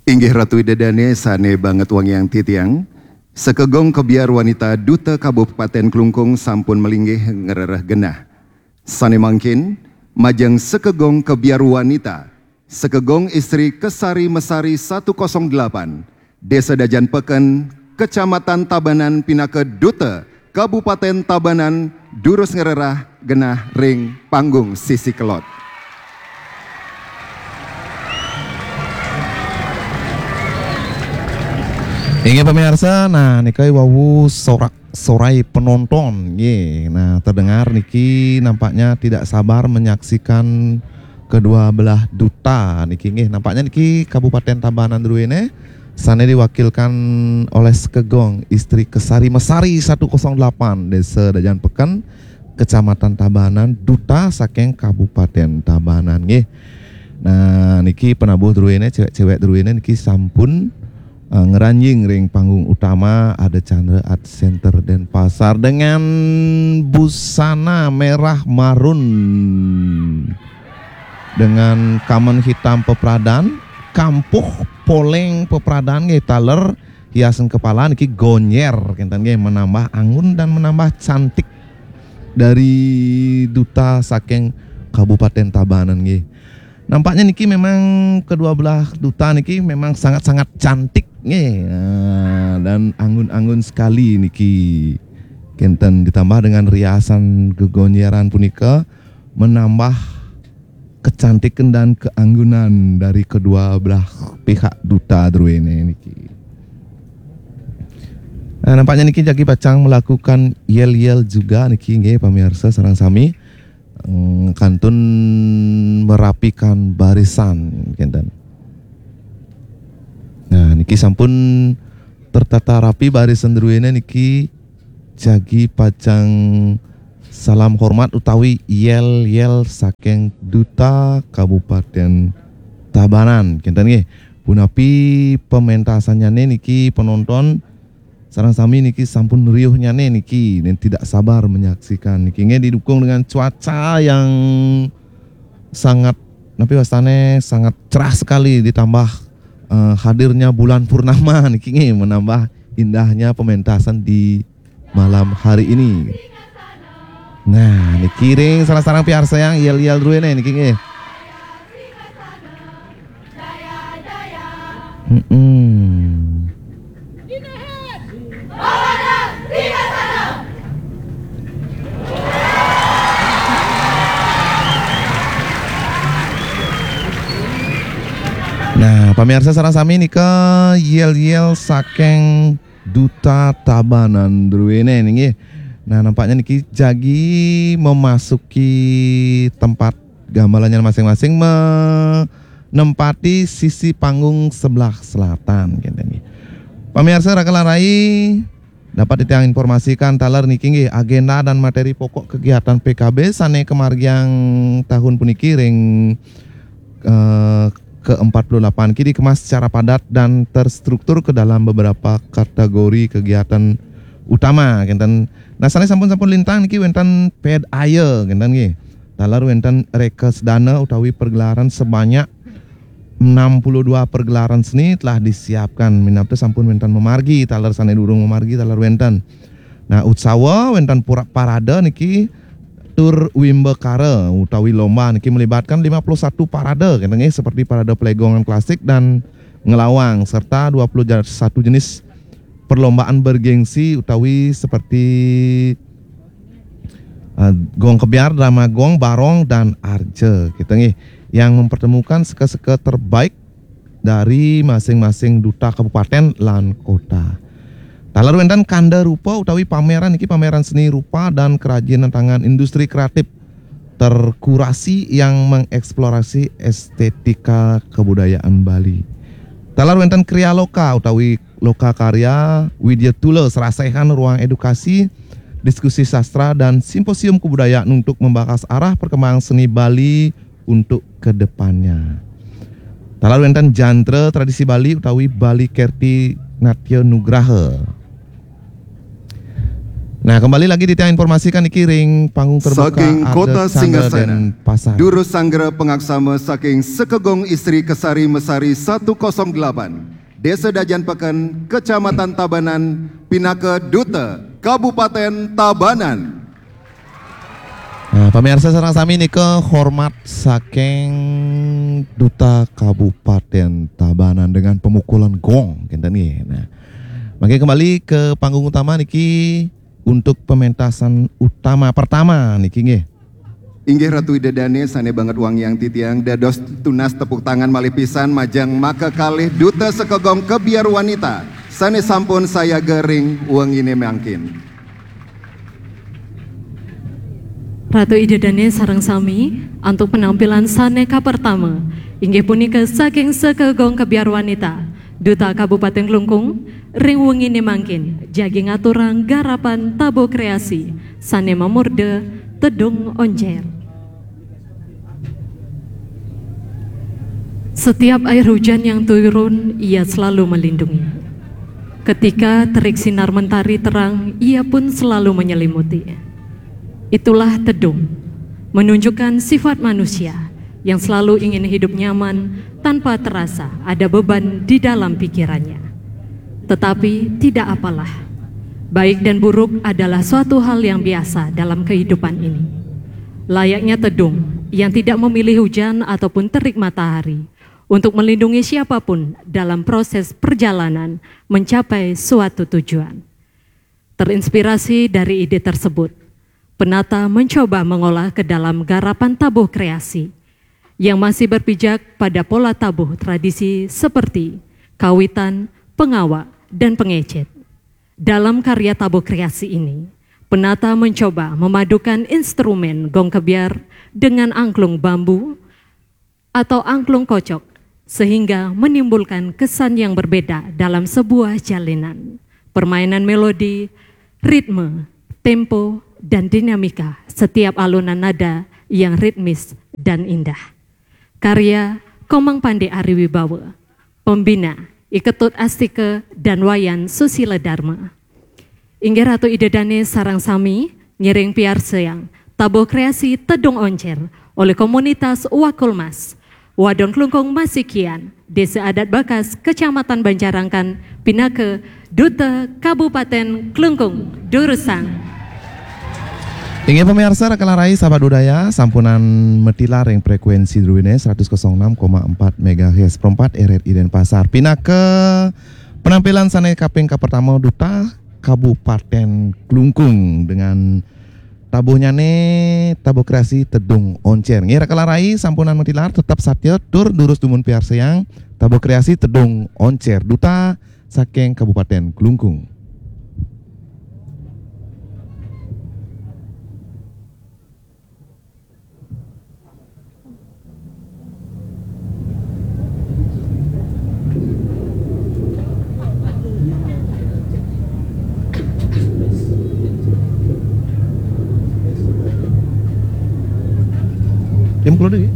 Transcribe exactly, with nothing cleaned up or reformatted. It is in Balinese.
Inggih Ratu Ida Dane sane banget wangiang titiang, sekegong kebiar wanita Duta Kabupaten Klungkung sampun melinggih ngrereh genah. Sane mangkin, majeng sekegong kebiar wanita, sekegong istri Kesari Mesari satu kosong delapan, Desa Dajan Peken, Kecamatan Tabanan pinaka Duta Kabupaten Tabanan durus ngrereh genah ring panggung sisi kelod. Inggih pamiarsa, nah nika wau sorak-sorai penonton, nggih. Nah, terdengar niki nampaknya tidak sabar menyaksikan kedua belah duta niki, nggih. Nampaknya niki Kabupaten Tabanan druene sane diwakilkan oleh sekegong istri Kesari Mesari satu kosong delapan, Desa Dajan Peken, Kecamatan Tabanan, duta saking Kabupaten Tabanan, nggih. Nah, niki penabuh druene, cewek-cewek druene niki sampun, eh, ngranjing ring panggung utama Ardha Candra Art Center Denpasar dengan busana merah marun, dengan kamen hitam pepradan, kampuh poleng pepradan nggih, taler hiasan kepala niki gonjer, kenten nggih, menambah anggun dan menambah cantik dari duta saking Kabupaten Tabanan nggih. Nampaknya niki memang kedua belah duta niki memang sangat-sangat cantik nggih. Nah, dan anggun-anggun sekali niki. Kenten ditambah dengan riasan gegonjeran punika menambah kecantikan dan keanggunan dari kedua belah pihak duta druene niki. Nah, nampaknya niki jagi pacang melakukan yel-yel juga niki nggih, pamiarsa sareng sami, mm, kantun merapikan barisan, kenten. Nah, niki sampun tertata rapi barisan druene niki, jagi pacang salam hormat utawi yel-yel saking Duta Kabupaten Tabanan, kenten nggih. Punapi pementasannyane niki, penonton sareng sami niki sampun riuhnyane niki, dan tidak sabar menyaksikan niki nggih, didukung dengan cuaca yang sangat, napi wastane, sangat cerah sekali, ditambah, eh, hadirnya bulan purnama niki nggih, menambah indahnya pementasan di malam hari ini. Nah, niki ring sareng-sareng piarsa yang yel-yel druene niki nggih. Mm-mm. Nah, pamiarsa sareng sami nika yel-yel saking Duta Tabanan druene nggih. Nah, nampaknya niki jagi memasuki tempat gamelannya masing-masing, menempati sisi panggung sebelah selatan, kenten nggih. Pamiarsa raka lan rai, dapat titiang informasikan taler niki nggih, agenda dan materi pokok kegiatan P K B sane kamargiang tahun puniki ring, eh, ke empat puluh delapan ki dikemas secara padat dan terstruktur ke dalam beberapa kategori kegiatan utama, kenten. Nah, sane sampun-sampun lintang niki wenten ped aye, kenten nggih. Taler wenten rekesdana utawi pergelaran sebanyak enam puluh dua pergelaran seni telah disiapkan. Minab te sampun wenten mamargi, taler sane durung mamargi, taler wenten. Nah, utsawa wenten pura parade niki tur wimbakara utawi lomba niki melibatkan lima puluh satu parade, kenten nggih, seperti parade pelegongan klasik dan ngelawang, serta dua puluh satu jenis perlombaan bergengsi utawi seperti, eh, gong kebyar, drama gong, barong, dan arja, kenten nggih, yang mempertemukan seka-seka terbaik dari masing-masing duta kabupaten lan kota. Taler wenten kanda rupa utawi pameran niki, pameran seni rupa dan kerajinan tangan industri kreatif terkurasi yang mengeksplorasi estetika kebudayaan Bali. Taler wenten kriya loka utawi loka karya, widya tula, serasehan ruang edukasi, diskusi sastra, dan simposium kebudayaan untuk membahas arah perkembangan seni Bali untuk kedepannya. Taler wenten jantra tradisi Bali utawi Bali Kerti Natya Nugraha. Nah, kembali lagi titiang informasikan niki ring panggung terbuka Saking Arda Kota Chandra Singgasana, Denpasar. Durus Sanggra Pengaksama saking Sekegong Istri Kesari Mesari satu kosong delapan, Desa Dajan Peken, Kecamatan Tabanan, pinaka Duta Kabupaten Tabanan. Nah, pemirsa sareng sami nika hormat saking Duta Kabupaten Tabanan dengan pemukulan gong kinten nggih. Nah, mangke kembali ke panggung utama niki untuk pementasan utama pertama niki nggih. Inggih Ratu Ida Dane sane banget wangiang titiang, dados tunas tepuk tangan malih pisan majeng maka kalih Duta Sekegong Kebiar Wanita sane sampun sayaga ring wengine mangkin. Ratu Ida Dane sareng sami, antuk penampilan sane kapertama inggih punika saking Sekegong Kebiar Wanita, Duta Kabupaten Klungkung, ring wengine mangkin jagi ngaturang garapan tabuh kreasi sane mamurda Tedung Oncer. Setiap air hujan yang turun, ia selalu melindungi. Ketika terik sinar mentari terang, ia pun selalu menyelimuti. Itulah tedung, menunjukkan sifat manusia yang selalu ingin hidup nyaman tanpa terasa ada beban di dalam pikirannya. Tetapi tidak apalah, baik dan buruk adalah suatu hal yang biasa dalam kehidupan ini. Layaknya tedung yang tidak memilih hujan ataupun terik matahari untuk melindungi siapapun dalam proses perjalanan mencapai suatu tujuan. Terinspirasi dari ide tersebut, penata mencoba mengolah ke dalam garapan tabuh kreasi yang masih berpijak pada pola tabuh tradisi seperti kawitan, pengawak, dan pengecet. Dalam karya tabuh kreasi ini, penata mencoba memadukan instrumen gong kebiar dengan angklung bambu atau angklung kocok, sehingga menimbulkan kesan yang berbeda dalam sebuah jalinan. Permainan melodi, ritme, tempo, dan dinamika setiap alunan nada yang ritmis dan indah. Karya Komang Pande Ari Wibawa, Pembina, I Ketut Astika, dan Wayan Susila Dharma. Inggih Ratu Ida Dane sareng sami ngiring piarsayang tabuh kreasi Tedung Oncer oleh komunitas Wakulmas, Wadon Klungkung Masikian, Desa Adat Bakas, Kecamatan Banjarangkan, pinaka Duta Kabupaten Klungkung, durusang. Inggih pemirsa, Rekala Rai Sahabat Budaya, sampunan matilar ring frekuensi druene seratus kosong enam koma empat megahertz, perempat R R I Denpasar. Pinaka penampilan sane kaping kapertama Duta Kabupaten Klungkung dengan tabuhnyane tabuh kreasi Tedung Oncer. Nggih, Rekala Rai sampunan matilar, tetep satya tur durus dumun piarsayang tabuh kreasi Tedung Oncer, Duta saking Kabupaten Klungkung. Yang keluar lagi.